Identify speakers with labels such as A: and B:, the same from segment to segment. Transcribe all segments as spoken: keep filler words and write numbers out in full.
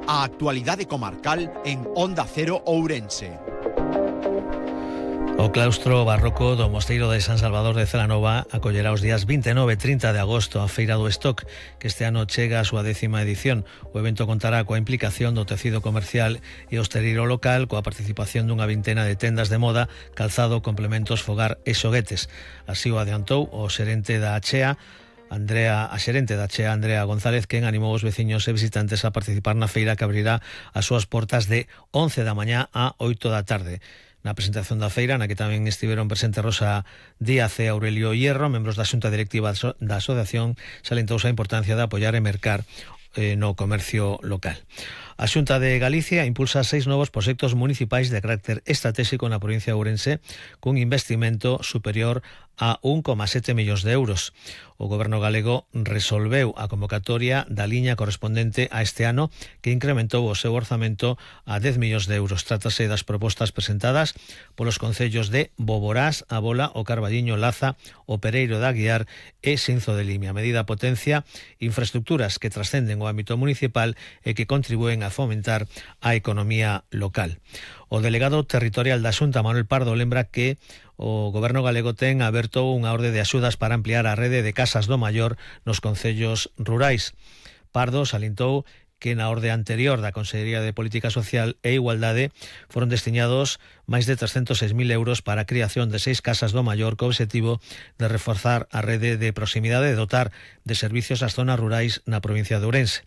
A: a actualidade comarcal en Onda Cero Ourense.
B: O claustro barroco do Mosteiro de San Salvador de Celanova acollerá os días vinte e nove e trinta de agosto a Feira do Stock, que este ano chega a súa décima edición. O evento contará coa implicación do tecido comercial e hosteleiro local, coa participación dunha vintena de tendas de moda, calzado, complementos, fogar e xoguetes. Así o adiantou o xerente da Achea, Andrea, a xerente da Achea, Andrea González, quen animou os veciños e visitantes a participar na feira, que abrirá as súas portas de once da mañá a oito da tarde. Na presentación da feira, na que tamén estiveron presentes Rosa Díaz e Aurelio Hierro, membros da xunta directiva da asociación, salentouse a importancia de apoiar e mercar eh, no comercio local. A Xunta de Galicia impulsa seis novos proxectos municipais de carácter estratégico na provincia de Ourense, cun investimento superior a un coma sete millóns de euros. O Goberno galego resolveu a convocatoria da liña correspondente a este ano, que incrementou o seu orzamento a dez millóns de euros. Trátase das propostas presentadas polos concellos de Boborás, A Bola, O Carballiño, Laza, O Pereiro de Aguiar e Sinzo de Limia. A medida potencia infraestructuras que trascenden o ámbito municipal e que contribúen a fomentar a economía local. O delegado territorial da Xunta, Manuel Pardo, lembra que o Goberno galego ten aberto unha orde de axudas para ampliar a rede de casas do maior nos concellos rurais. Pardo salientou que na orde anterior da Consellería de Política Social e Igualdade foron destinados máis de trescentos seis mil euros para a creación de seis casas do maior, co obxectivo de reforzar a rede de proximidade e dotar de servicios ás zonas rurais na provincia de Ourense.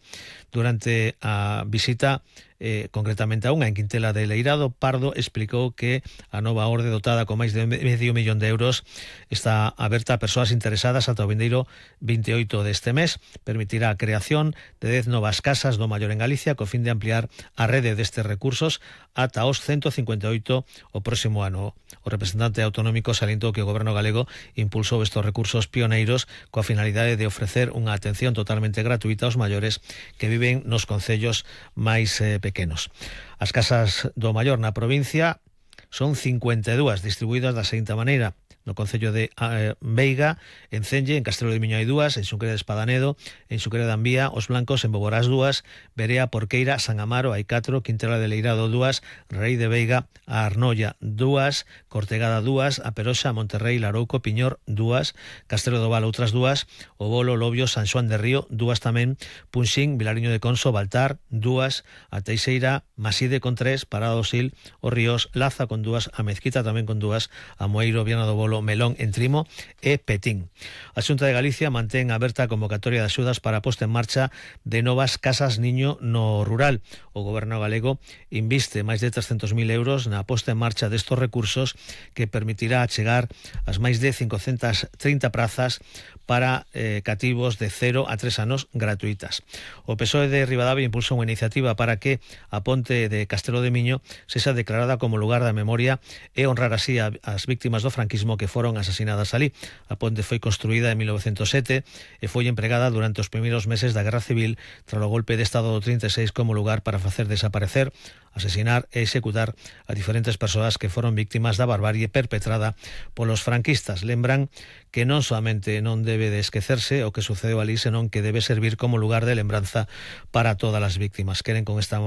B: Durante a visita, eh, concretamente a unha en Quintela de Leirado, Pardo explicou que a nova orde, dotada con máis de medio millón de euros, está aberta a persoas interesadas ata o vindeiro vinte e oito deste mes. Permitirá a creación de dez novas casas do maior en Galicia, co fin de ampliar a rede destes recursos ata os ciento cincuenta e oito o próximo ano. O representante autonómico salientou que o Goberno galego impulsou estes recursos pioneiros coa finalidade de ofrecer unha atención totalmente gratuita aos maiores que viven nos concellos máis eh, pequenos. As casas do maior na provincia son cincuenta e dúas, distribuídas da seguinte maneira: no concello de eh, Veiga, en Celle, en Castelo de Miño hai dúas, en Xunquera de Espadanedo, en Xunquera de Ambía, Os Blancos, en Boborás dúas, Berea, Porqueira, San Amaro hai catro, Quintela de Leirado dúas, Rei de Veiga, a Arnolla dúas, Cortegada dúas, a Peroxa, Monterrey, Larouco, Piñor dúas, Castelo do Val outras dúas, O Bolo, Lobio, San Xoán de Río dúas tamén, Punxín, Vilariño de Conso, Baltar dúas, a Teixeira, Maside con tres, Parada do Sil, Os Ríos, Laza con dúas, a Mezquita tamén con dúas, a Moeiro, Viana do Bolo, Melón, en Trimo e Petín. A Xunta de Galicia mantén aberta a convocatoria de axudas para a posta en marcha de novas casas niño no rural. O Goberno galego inviste máis de trescentos mil euros na posta en marcha destos recursos, que permitirá chegar ás máis de cincocentas trinta prazas para eh, cativos de cero a tres anos gratuitas. O P S O E de Ribadavia impulsa unha iniciativa para que a ponte de Castelo de Miño sexa declarada como lugar da memoria e honrar así a, as víctimas do franquismo que foron asasinadas ali. A ponte foi construída en mil novecentos sete e foi empregada durante os primeiros meses da Guerra Civil tras o golpe de Estado do trinta e seis como lugar para facer desaparecer, asesinar e executar a diferentes persoas que foron víctimas da barbarie perpetrada polos franquistas. Lembran que non solamente non debe de esquecerse o que sucedeu ali, senón que debe servir como lugar de lembranza para todas as víctimas. Queren con esta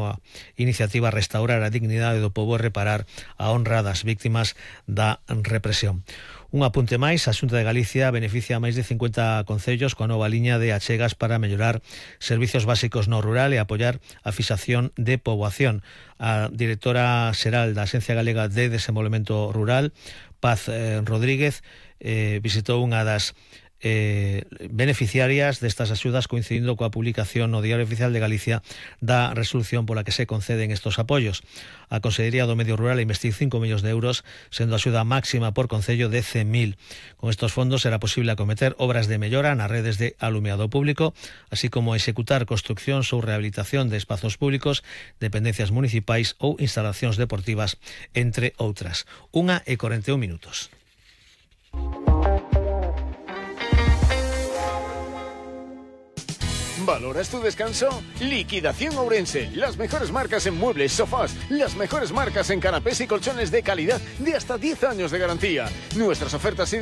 B: iniciativa restaurar a dignidade do pobo e reparar a honra das víctimas da represión. Un apunte máis, a Xunta de Galicia beneficia a máis de cincuenta concellos coa nova liña de achegas para mellorar servizos básicos no rural e apoiar a fixación de poboación. A directora xeral da Axencia Galega de Desenvolvemento Rural, Paz eh, Rodríguez, eh, visitou unha das Eh, beneficiarias destas axudas, coincidindo coa publicación no Diario Oficial de Galicia da resolución pola que se conceden estos apoios. A Consellería do Medio Rural investiu cinco millóns de euros, sendo a axuda máxima por concello de cen mil. Con estos fondos será posible acometer obras de mellora nas redes de alumeado público, así como executar construccións ou rehabilitación de espazos públicos, dependencias municipais ou instalacións deportivas, entre outras. Unha e corenta e un minutos.
C: ¿Valoras tu descanso? Liquidación Ourense. Las mejores marcas en muebles, sofás. Las mejores marcas en canapés y colchones de calidad de hasta diez años de garantía. Nuestras ofertas y